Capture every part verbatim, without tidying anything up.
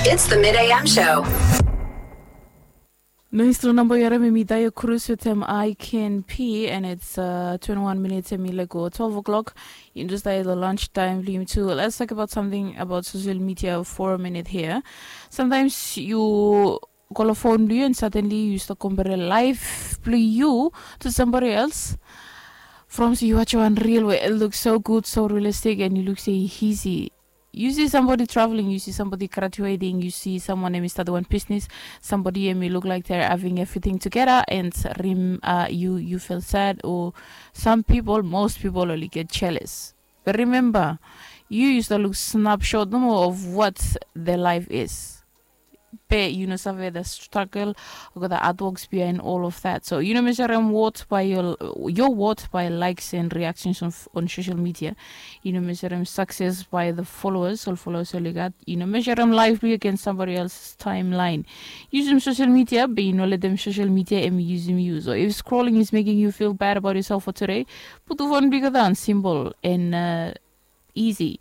It's the Mid A M Show. Nice tru namba yu harim, hemi Daya Cruz wetem I Can Pee, and it's uh, twenty-one minutes hemi lego twelve o'clock. Yu just dai the lunch time blong yumi tu. Let's talk about something about social media for a minute here. Sometimes yu go lo phone blong yu and suddenly yu stap compare life blong yu to somebody else. From se yu watch wan reel where it looks so good, so realistic, and yu look se easy. Yu si somebody traveling, yu si somebody graduating, yu si someone hemi start wan business, somebody hemi look like they're having everything together, and rim uh, yu yu feel sad, or some people, most people only get jealous. But remember, yu yu stap look snapshot nomo of what their life is. Be yu no save the struggle, olgeta hard works behind all of that. So yu no measure worth by your your worth by likes and reactions on, on social media. Yu no measure success by the followers, ol followers ol yu gat. Yu no measure life blong yu against somebody else's timeline. Yusum social media, be yu no letem social media hemi yusum yu. So if scrolling is making you feel bad about yourself for today, putum phone blong yu daon, simple and uh, easy.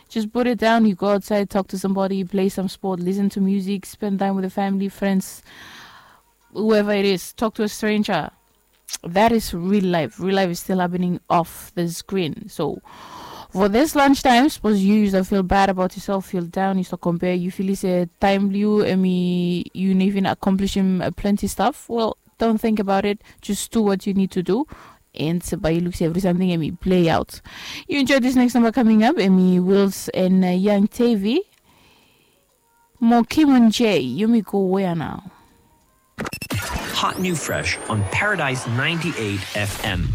Just put it down, you go outside, talk to somebody, play some sport, listen to music, spend time with the family, friends, whoever it is, talk to a stranger. That is real life. Real life is still happening off the screen. So for this lunchtime, suppose yu yu stap feel bad about yourself, feel down, yu stap compare, yu feel se time blong yu hemi yu no even accomplish him uh, plenty stuff. Well, don't think about it. Just do what you need to do. And bae yu look se every something hemi play out. Yu enjoy this next number coming up, hemi Wills and uh, Young Tavy. Mo Kim and Jay, yumi go wea nao? Hot new fresh on Paradise ninety-eight F M.